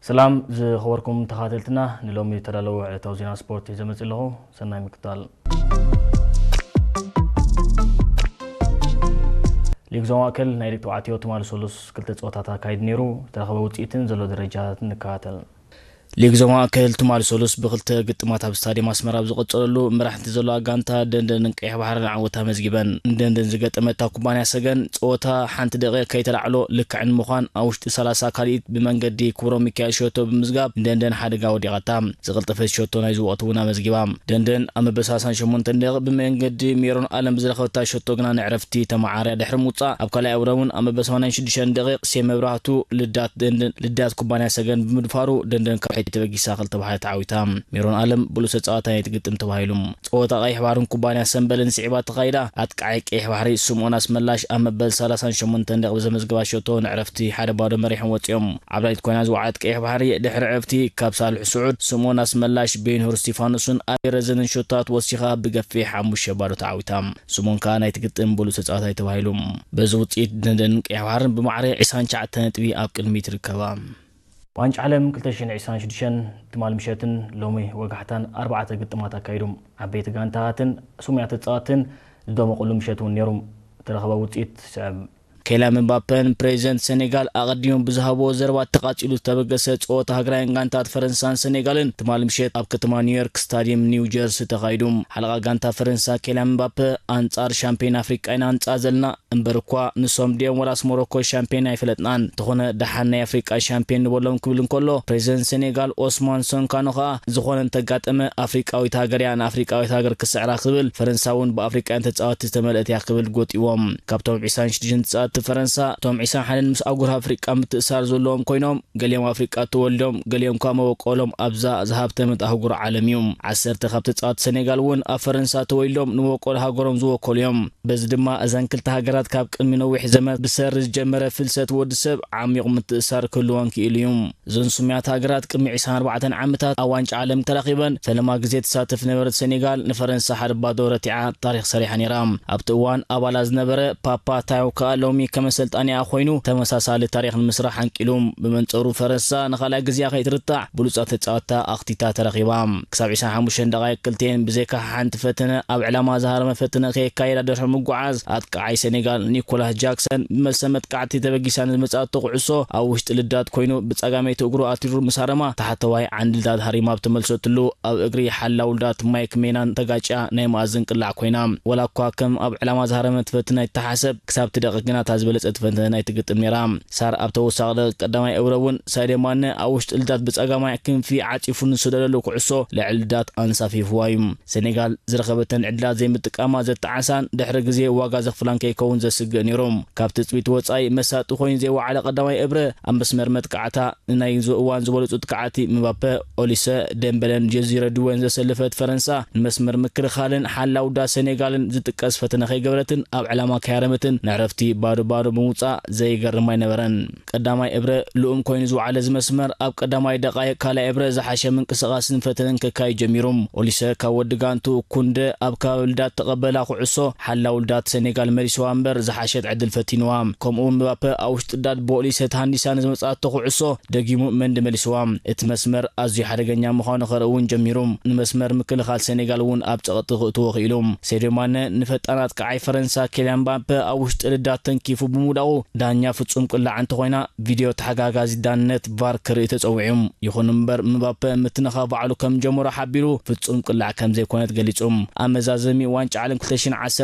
ሰላም ዝኸበርኩም ተኸታተልትና፣ ንሎሚ ዝተዳለወ ዕለታዊ ዜና ስፖርት ሒዘ መፂእ ኣለኹ። ሰናይ ምክታል። ሊግ ዞባ ማእከል ናይ ደቂ ተባዕትዮ ትማሊ ሰሉስ ክልተ ፀወታታት ኣካይዱ ነይሩ። ዝተረኸበ ውፅኢትን ዘሎ ደረጃታትን ንከታተል። ሊግ ዞባ ማእከል ትማሊ ሰሉስ ብክልተ ግጥማት ኣብ ስታዲየም ኣስመራ ኣብ ዝቐጸለሉ፣ መራሕቲ ዘለዋ ጋንታ ደንደንን ቀይሕ ባሕርን ዓወት ኣመዝጊበን። ንደንደን ዝገጠመታ ኩባንያ ሰገን፣ ጸወታ ሓንቲ ደቂቕ ከይተላዕሎ ልክዕ ንምዃን ኣብ ውሽጢ ሰላሳ ካልኢት ብመንገዲ ክብሮም ሚካኤል ሸቶ ብምዝጋብ ንደንደን ሓደጋ ወዲቓታ። ዝቐልጠፈት ሸቶ ናይዚ ወቕቲ እውን ኣመዝጊባ። ደንደን ኣብ መበል ሰላሳን ሸሞንተን ደቂቕ ብመንገዲ ሜሮን ኣለም ብዝረኸበታ ሸቶ ግና ንዕረፍቲ ተመዓርያ ድሕሪ ምውጻእ፣ ኣብ ካልኣይ ኣውደ እውን ኣብ መበል ሰማንያን ሽዱሽተን ደቂቕ ሴም መብራህቱ ልዳት ደንደን፣ ልዳት ኩባንያ ሰገን ብምድፋሩ ደንደን ካብ ሕጂ ተበጊሳ ክልተ ብሓደ ተዓዊታ። ሜሮን ኣለም ብሉጽ ተጻዋታይ ናይቲ ግጥም ተባሂሉ። ጸወታ ቀይሕ ባሕርን ኩባንያ ሰምበልን ስዒባ ተኻይዳ፣ ኣጥቃዓይ ቀይሕ ባሕሪ ስምኦን ኣስመላሽ ኣብ መበል ሰላሳን ሸሞንተን ደቂቕ ብዘመዝገባ ሸቶ ንዕረፍቲ ሓደ ባዶ መሪሖም ወጺኦም። ዓብላሊት ኮይና ዝወዓለት ቀይሕ ባሕሪ ድሕሪ ዕረፍቲ ካብ ሳልሕ ስዑድ፣ ስምኦን ኣስመላሽ፣ ቤንሁር እስቲፋኖስን ኣቤረዘንን ሸቶታት ወሲኻ ብገፊሕ ሓሙሽተ ባዶ ተዓዊታ። ስምኦን ከኣ ናይቲ ግጥም ብሉጽ ተጻዋታይ ተባሂሉ። በዚ ውጽኢት ደንደንን ቀይሕ ባሕርን ብማዕረ ዕስራን ትሽዓተን ነጥቢ ኣብ ቅድሚት ይርከባ። ዋንጫ ዓለም ክልተ ሽሕን ዕስራን ሽዱሽተን ትማሊ ምሸትን ሎሚ ወጋሕታን ኣርባዕተ ግጥማት ኣካይዶም። ዓበይቲ ጋንታታትን ስሙያት ተጻወትን ዝደመቑሉ ምሸት እውን ነይሮም። ዝተረኸበ ውጽኢት ስዕብ። ኬልያን ምባፔን ፕሬዚደንት ሴኔጋል ኣቐዲሞም ብዝሃብዎ ዘረባ ተቓጺሉ ዝተበገሰ ጸወታ ሃገራውያን ጋንታት ፈረንሳን ሴኔጋልን ትማሊ ምሸት ኣብ ከተማ ኒውዮርክ ስታዲየም ኒው ጀርሲ ተኻይዱ። ሓለቓ ጋንታ ፈረንሳ ኬልያን ምባፔ፣ ኣንጻር ሻምፒዮን ኣፍሪቃ ኢና ንጻወት ዘለና፣ እምበር እኳ ንሶም ድዮም ወላስ ሞሮኮ ሻምፒዮን ኣይፈለጥናን። እንተኾነ ደሓን ናይ ኣፍሪቃ ሻምፒዮን ንበሎም ክብል እንከሎ፣ ፕሬዚደንት ሴኔጋል ኦስማን ሶንካኖ ከኣ ዝኾነ እንተጋጠመ ኣፍሪቃዊት ሃገር እያ፣ ንኣፍሪቃዊት ሃገር ክስዕራ ክብል፣ ፈረንሳ እውን ብኣፍሪቃውያን ተጻወትቲ ዝተመልአት እያ ክብል ጎጢዎም። ካብቶም ዕስራን ሽዱሽተን ተጻወትቲ ፈረንሳ፣ እቶም ዕስራን ሓደን ምስ ኣህጉር ኣፍሪቃ ምትእሳር ዘለዎም ኮይኖም፣ ገሊኦም ኣፍሪቃ ተወልዶም፣ ገሊኦም ከኣ መበቆሎም ኣብዛ ዝሃብተመት ኣህጉር ዓለም እዩ። ዓሰርተ ካብ ተጻወትቲ ሴኔጋል እውን ኣብ ፈረንሳ ተወልዶም ንመበቆል ሃገሮም ዝወከሉ እዮም። በዚ ድማ እዘን ክልተ ሃገራት ካብ ቅድሚ ነዊሕ ዘመናት ብሰሪ ዝጀመረ ፍልሰት ወዲ ሰብ ዓሚቕ ምትእሳር ክህልወን ክኢሉ እዩ። እዘን ስሙያት ሃገራት ቅድሚ ዕስራን ኣርባዕተን ዓመታት ኣብ ዋንጫ ዓለም ተራኺበን ፈለማ ግዜ ትሳተፍ ዝነበረት ሴኔጋል ንፈረንሳ ሓደ ባዶ ረቲዓ ታሪኽ ሰሪሓ ነይራ። ኣብቲ እዋን ኣባላ ዝነበረ ፓፓ ታዮ ከኣ ሎሚ ከም ኣሰልጣኒኣ ኮይኑ ተመሳሳሊ ታሪኽ ንምስራሕ ኣንቂሉ። ብመንጸሩ ፈረንሳ ንኻልኣይ ግዜኣ ከይትርታዕ ብሉጻት ተጻወትታ ኣኽቲታ ተረኺባ። ክሳብ ዕስራን ሓሙሽተን ደቓይቕ ክልቲኤን ብዘይካ ሓንቲ ፈተነ ኣብ ዕላማ ዝሃረመ ፈተነ ከየካየዳ ድሕሪ ምጉዓዝ ኣጥቃዓይ ሴኔጋል ኒኮላስ ጃክሰን ብመልሰ መጥቃዕቲ ተበጊሳ ንዝመጻቶ ኩዕሶ ኣብ ውሽጢ ልዳት ኮይኑ ብጸጋመይቲ እግሩ ኣትሪሩ ምስ ሃረማ ታሕተዋይ ዓንዲ ልዳት ሃሪማ ኣብ ተመልሰትሉ ኣብ እግሪ ሓላው ልዳት ማይክ ሜናን ተጋጭያ ናይ መኣዝን ቅላዕ ኮይና። ወላ እኳ ከም ኣብ ዕላማ ዝሃረመት ፈተነ ኣይተሓሰብ፣ ክሳብ እቲ ደቂቕ ግና እታ ዝበለጸት ፈተነ ኣይትግጥም ነይራ። ሳር ኣብ ተወሳኺ ደቂቕ ቀዳማይ እብረ እውን ሳድዮ ማነ ኣብ ውሽጢ ልዳት ብጸጋማይ ክንፊ ዓጺፉ ንዝሰደደሉ ኩዕሶ ልዕሊ ልዳት ኣንሳፊፍዋ እዩ። ሴኔጋል ዝረኸበተን ዕድላት ዘይምጥቃማ ዘተዓሳን ድሕሪ ግዜ ዋጋ ዘኽፍላን ከይከውን ዘስግእ ነይሩ። ካብ ትጽቢት ወጻኢ መሳጢ ኮይኑ ዘይወዓለ ቀዳማይ እብረ ኣብ መስመር መጥቃዕታ ንናይ ዝ-፣ እዋን ዝበለጹ ተካዕቲ ምባፐ፣ ኦሊሰ፣ ደምበለን ጀዚረ ድወን ዘሰለፈት ፈረንሳ ንመስመር ምክልኻልን ሓላው ዳ ሴኔጋልን ዝጥቀስ ፈተነ ከይገበረትን ኣብ ዕላማ ከይሃረመትን ንዕረፍቲ ባዶ ባዶ ብምውጻእ ዘይገርም ኣይነበረን። ቀዳማይ እብረ ልኡም ኮይኑ ዝወዓለ እዚ መስመር ኣብ ቀዳማይ ደቓይቕ ካልኣይ እብረ ዝሓሸ ምንቅስቓስን ፈተነን ከካይድ ጀሚሩ። ኦሊሰ ካብ ወዲ ጋንቱ ኩንደ ኣብ ከባቢ ልዳት ተቐበላ ኩዕሶ ሓላው ልዳት ሴኔጋል መሊስዋ እምበር ዝሓሸት ዕድል ፈቲንዋ። ከምኡ እውን ምባፐ ኣብ ውሽጢ ልዳት ብኦሊሰ ተሃንዲሳ ንዝመጻቶ ኩዕሶ ደጊሙ መንዲ መሊስዋ። እቲ መስመር ኣዝዩ ሓደገኛ ምዃኑ ከርኢ እውን ጀሚሩ። ንመስመር ምክልኻል ሴኔጋል እውን ኣብ ጸቕጢ ክእትዎ ክኢሉ። ሴድዮ ማነ ንፈጣን ኣጥቃዓይ ፈረንሳ ኬልያን ምባፐ ኣብ ውሽጢ ልዳት ተንኪፉ ብምውዳቑ ዳኛ ፍጹም ቅላዕ እንተኾይና ቪድዮ ተሓጋጋዚ ዳንነት ቫር ክርኢ ተጸዊዑ። ይኹን እምበር ምባፐ ምትንኻፍ ባዕሉ ከም ጀመሮ ሓቢሩ ፍጹም ቅላዕ ከም ዘይኮነት ገሊጹ። ኣብ መዛዘሚ ዋንጫ ዓለም ክልተ ሽሕን ዓሰርተ